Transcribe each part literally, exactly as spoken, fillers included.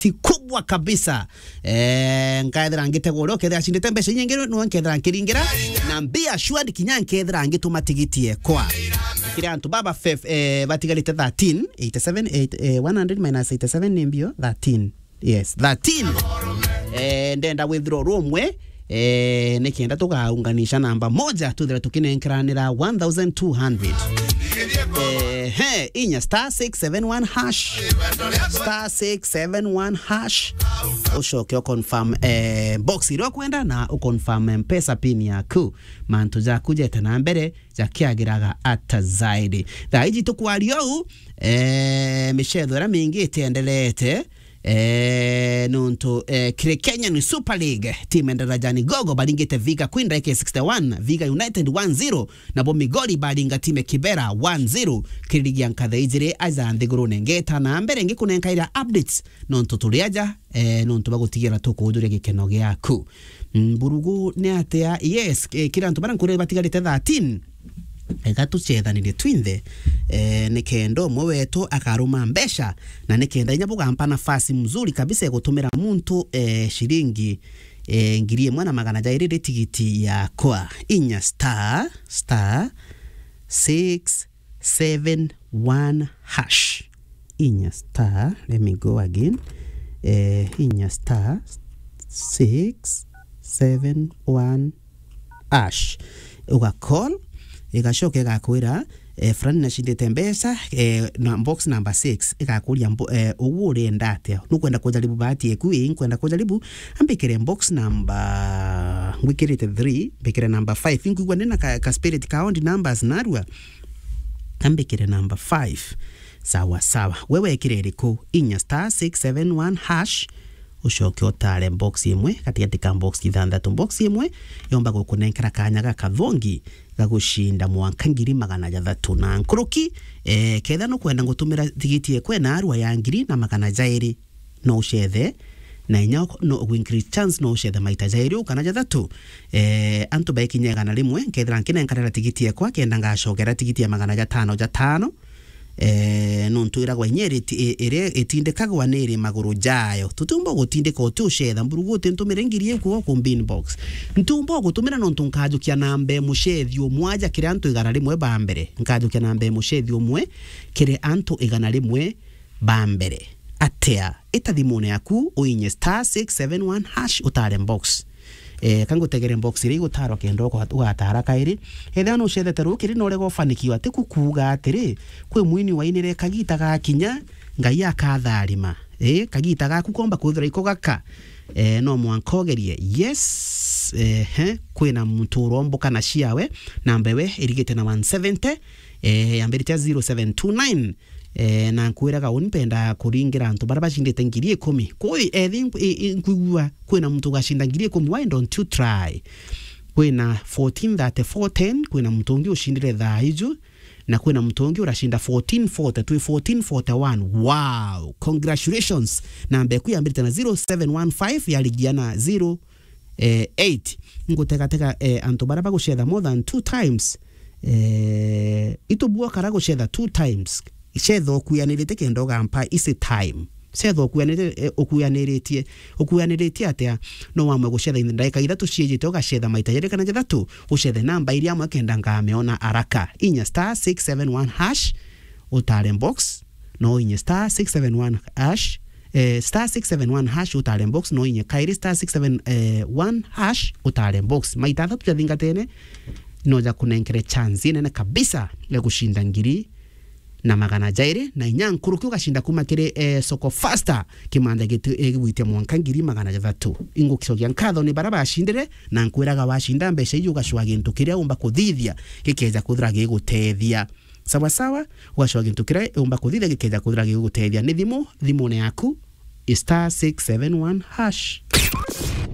ti kubwa kabisa. Eh, nkethira ngitegwa uria ukethira acindite mbeca inyingi, niwe nkethira nkiringira, na be assured kinya nkethira ngituma tigiti ekwa. Kiri antu baba fef-, eh, batigarite thirteen, eighty-seven, eight, eh, one hundred minus eighty-seven ni mbio? Thirteen. Yes, thirteen. Eh, ndenda withdraw rumwe, eh, nikenda tugaunganisha namba moja, tuthire tukinenkeranira one thousand two hundred. Eh, he, inya star six seven one hash. Star six seven one hash. Ucoke u confirm, eh, box iria ukwenda na u confirm M-Pesa pin yaku. Mantu jaku jete na mbere, jakiagiraga ata zaidi. Thaa iji tukwaria uu, eh, micetho iria mingi itiendelete, eh, nontu, eh, kiri Kenyan Super League, timu ya Darajani Gogo baringite Viga Queen ndagika sixty-one, Viga United one zero, nabo Migori baringa timu ya Kibera one zero, kiri ligi ya nkatha ijiri aja nthigurune. Ngeta na mbere ngikunenkaira updates, nontu turi aja, eh, nontu bagutigira tukuujuria gikeno giaku. Mm, Mburugu ni atia? Yes, eh, kiri antu baria nkuria batigarite thirteen, ega tucethanire twinthe, eh, nikenda umwe wetu akaruma mbeca, na nikenda inya bugampa nafasi mzuri kabisa ya gutumira muntu, eh, shilingi, eh, ngiri imwe na magana jairi ri tigiti yakwa. Inya star, star six seven one hash. Inya star, let me go again. Eh, inya star six seven one hash. Uga call, igacoka igakwira, eh, fulani nacindite mbeca, eh, na box number six, igakuria mbo-, eh, ugu urenda atia? Nukwenda kujaribu bahati eku? Ii, nkwenda kujaribu. Ambikire box number, ngwikirite three, mbikire number five. Inkwigua ndina ka, ka spirit ka odd numbers narua. Ambikire number five. Sawa, sawa. We wekire iriku? Inya star six seven one hash, ucoke utare box imwe gatigati ka box ithanthatu. Box imwe yomba gukunenkera kanya gakathongi ga gucinda mwanka ngiri magana jathatu na nkuruki. Eh, ketha nukwenda ngutumira tigiti ekwe na arua ya ngiri na magana jairi, no ucethe, na inya no u increase chance, no ucethe maita jairi u kana jathatu. Eh, antu baikinya igana rimwe, nkethira nkinenkanira tigiti ekwa, kenda ngacokera tigiti ya magana jatano jatano. Eh, nontu iragwa inya iri ti-, i-, iria itindikagwa ni iri maguru jayo. Tutiumba gutindika uti ucetha, Mburugu uti ntumire ngiri iku ku bin box. Ntiumba gutumira nontu nkajukia namba e mucethi umwe aja kiri antu igana rimwe ba mbere. Nkajukia namba e mucethi umwe kiri antu igana rimwe ba mbere. Atia? Ita thimune yaku, uinye star six seven one hash, utare box. Eh, kangutegere box iria igutarwa kenda uga-, ugatara kairi. Ethira nucethete rukiri na urega ufanikiwa, tiku kuuga atiri, kwi mwini wainire kagita gakinya, Ngai akatharima. Eh, kagita gaku komba kwithira iko gaka. Eh, no mwanka ugerie. Yes, eh, he, kwina muntu uromboka na ciawe, namba ewe irigite na one seventy, eh, yambirite zero seven two nine. Eh, na nkwiraga uni mpenda kuringira antu baria bacindite ngiri ikumi. Kwi, eh, thi-, i-, i-, nkwigua kwina muntu ugacinda ngiri ikumi, why don't you try? Kwina fourteen thirty-four ten, kwina muntu ungi ucindire thaa iju, na kwina muntu ungi uracinda fourteen forty, twi fourteen forty-one. Wow, congratulations. Namba eku yambirite na zero seven one five, yarigia na zero, eh, eight. Ngutegatega, eh, antu baria bagucetha more than two times. Eh, itubua kara gucetha two times. Cetha ukuyanirite kenda ugampa easy time. Cetha ukuyanirite, eh, ukuyaniritie, ukuyaniritie atia? No wamwe gucetha in ndagika ithatu ciijite, ugacetha maita jeri kana jathatu, ucethe namba iria amwe kenda ngamiona araka. Inya star six seven one hash, utare box, no inye star six seven one hash, eh, star six seven one hash, utare box, no inye kairi star six seven one hash, utare box. Maita athatu jathingatene, no jakunenkere chance inene kabisa ya gucinda ngiri na magana jairi na inya nkuruki, ugacinda kuma kiri, eh, Soko Fasta, kimanja gitu-, eh, gigwitia mwanka ngiri magana jathatu. Ingucokia nkatho ni baria bacindire, na nkwiraga wacinda mbeca iji ugacua gintu kiria umba kuthithia gikeja kwithira gigutethia. Sawa sawa, ugacua gintu kiria umba kuthithia gikeja kwithira gigutethia. Ni thimu, thimune yaku, star six seven one hash.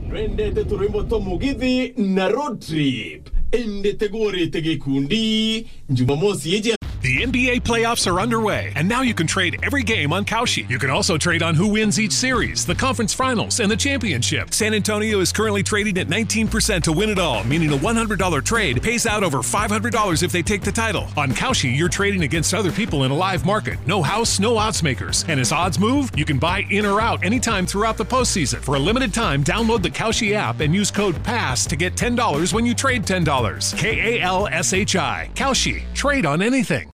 Nwendete turwimbo twa mugithi na road trip? Indi tigurite gikundi Jumamosi iji. The N B A playoffs are underway, and now you can trade every game on Kalshi. You can also trade on who wins each series, the conference finals, and the championship. San Antonio is currently trading at nineteen percent to win it all, meaning a one hundred dollar trade pays out over five hundred dollars if they take the title. On Kalshi, you're trading against other people in a live market. No house, no odds makers. And as odds move, you can buy in or out anytime throughout the postseason. For a limited time, download the Kalshi app and use code pass to get ten dollars when you trade ten dollars. K A L S H I. Kalshi. Trade on anything.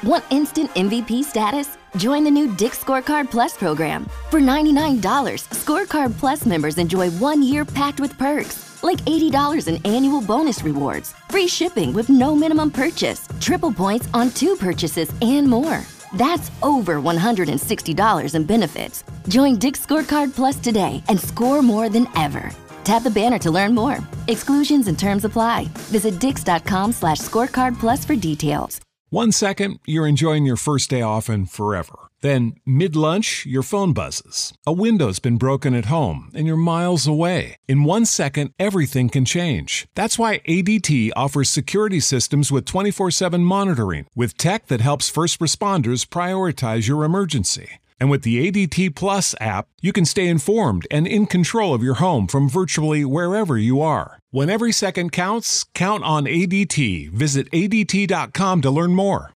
Want instant M V P status? Join the new Dick's Scorecard Plus program. For ninety-nine dollars, Scorecard Plus members enjoy one year packed with perks, like eighty dollars in annual bonus rewards, free shipping with no minimum purchase, triple points on two purchases, and more. That's over one hundred sixty dollars in benefits. Join Dick's Scorecard Plus today and score more than ever. Tap the banner to learn more. Exclusions and terms apply. Visit dicks.com slash scorecard plus for details. One second, you're enjoying your first day off and forever. Then, mid lunch, your phone buzzes. A window's been broken at home and you're miles away. In one second, everything can change. That's why A D T offers security systems with twenty-four seven monitoring, with tech that helps first responders prioritize your emergency. And with the A D T Plus app, you can stay informed and in control of your home from virtually wherever you are. When every second counts, count on A D T. Visit A D T dot com to learn more.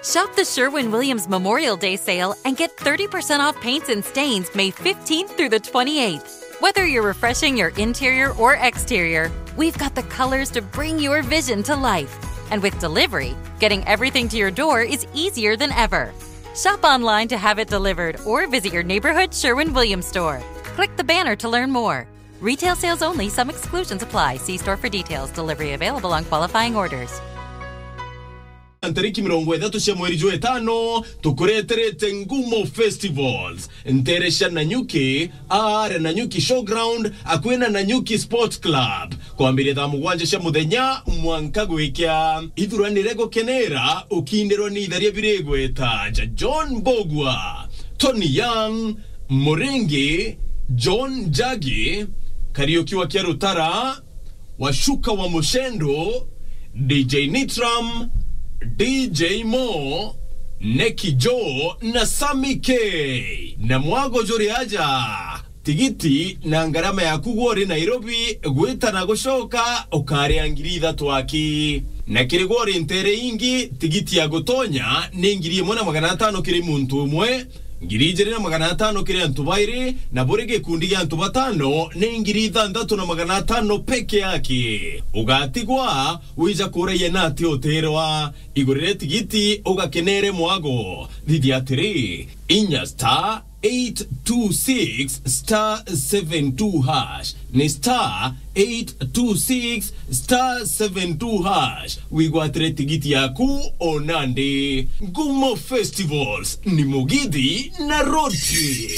Shop the Sherwin Williams Memorial Day sale and get thirty percent off paints and stains May fifteenth through the twenty-eighth. Whether you're refreshing your interior or exterior, we've got the colors to bring your vision to life. And with delivery, getting everything to your door is easier than ever. Shop online to have it delivered or visit your neighborhood Sherwin Williams store. Click the banner to learn more. Retail sales only, some exclusions apply. See store for details. Delivery available on qualifying orders. Ntariki mirongo ithatu cia mweri jwa itano, tukureterete Ngumo Festivals, ntere cia Nanyuki, aare Nanyuki Showground, akwina Nanyuki Sports Club, kwambiria thaa mugwanja cia muthenya mwanka gwikia. Ithuranire gukenera ukindirwa ni itharia biri igweta ja John Mbogua, Tony Young, Muringi, John Njagi, Kariuki wa Kiarutara, Washuka wa Mushendo, D J Nitram, D J Mo, Neki Joe na Sami K. Na mwago juri aja. Tigiti na ngarama yaku gwe uri Nairobi gwita na gucoka ukaria ngiri ithatu aki. Na kiri gwe uri ntere ingi, tigiti ya gutonya ni ngiri imwe na magana atano kiri muntu umwe, ngiri ijiri na magana atano kiri antu bairi, na buri gikundi gia antu batano ni ngiri ithantatu na magana atano peke yake. Ugatigwa wija kuraia na ati uterwa. Igurire tigiti ugakenere mwago. Thithia atiri, inya star eight two six star seven two hash. Ni star eight two six star seven two hash. Wigwatire tigiti yaku o nandi. Ngumo Festivals ni mugithi na road trip.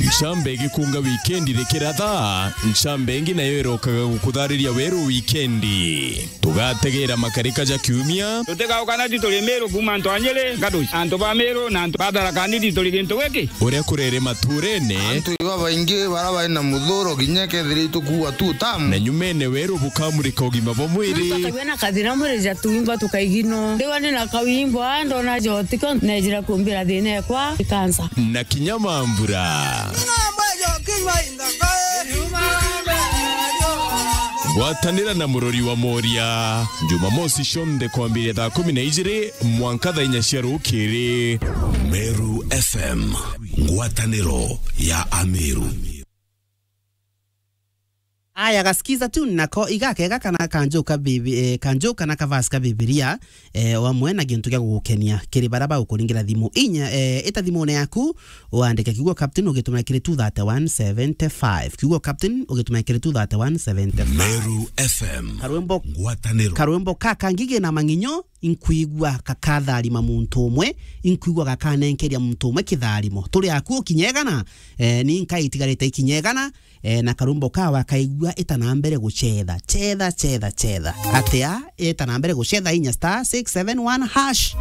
Ncamba igikunga wikendi rikiratha, ncamba ingi nayo irokaga gukuthariria weru wikendi. Tugategera makarika ja kiumia. Tutigauka na ti turi Miru kuuma antu a Nyiri, Gaduci, antu ba Miru na antu ba Tharaka Nithi turi gintu giki. Uria kurere maturene. Antu iba baingi bara bari na muthuro kinya kethira itukuua tu tamu. Na nyumene weru bukamurika ugima bwa mwiri. Muntu akagua na kathina mwiri ja tuimba tukaigino. Ndiwa ni na kawimbo, a, ndona jotiko, nejira kumbira thina ekwa, ikansa. Na kinya mambura. Ngwatanira na murori wa Moria, Jumamosi cionthe kwambiria thaa kumi na ijiri mwanka thaa inya cia rukiri. Meru F M, ngwataniro ya Ameru. Aya, gasikiza tu nako igakega kana kanjuka bibi-, eh, kanjuka na kavasi ka Bibilia, eh, o amwe na gintu gia gugukenia kiri bara bagukuringira thimu. Inya, eh, ita thimune yaku, uandike kiugo captain ugitumira kiri two thirty one seventy five. Kiugo captain ugitumira kiri two thirty one seventy five. Meru F M. Karwimbo, ngwataniro. Karwimbo ka kangi kena mang'inyo, inkwigua gakatharima muntu umwe, inkwigua gakanenkeria muntu umwe kitharimo. Turi aku ukinya igana, eh, ni nkai itigarite ikinya igana, eh, na karwimbo kawe akaigua ita na mbere gucetha. Cetha, cetha, cetha. Atia? Ita na mbere gucetha inya star six seven one hash.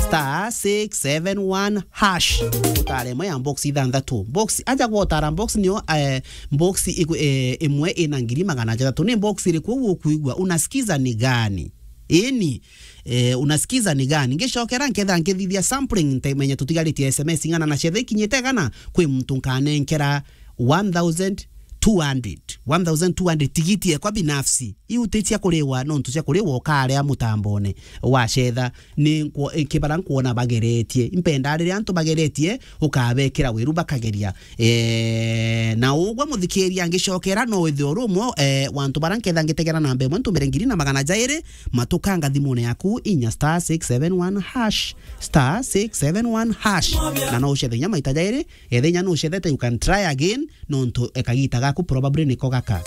Star six seven one hash. Utare imwe ya box ithanthatu. Box, aja gwotara box niyo, eh, box iku-, eh, imwe ina ngiri magana jathatu. Ni box iriku uguo ukwigua? Unasikiza ni gani? Ini, eh, unasikiza ni gani? Ngicokera nketha nkithithia sampling, ntemenya tutigaritie S M S ing'ana na cetha ikinyite igana, kwi muntu nkanenkera one thousand two hundred. One thousand two hundred tigiti ekwa binafsi. Iu ti cia kuriwa, nontu cia kuriwa ukarea mutambone wa cetha. Ni nkwo-, kibara nkwona bageretie. Impenda riria antu bageretie, ukabekira wiru bakageria. Eh, na ugwe muthikiria ngicokera, no withirwe uri umwe, eh, wa antu bara nketha ngitegera namba imwe ntumire ngiri na magana jairi, matukanga thimune yaku inya star six seven one hash, star six seven one hash. Na no ucethe inya maita jairi, ethe inya no ucethete, you can try again, nontu, eh, kagita gaku probably niko gaka.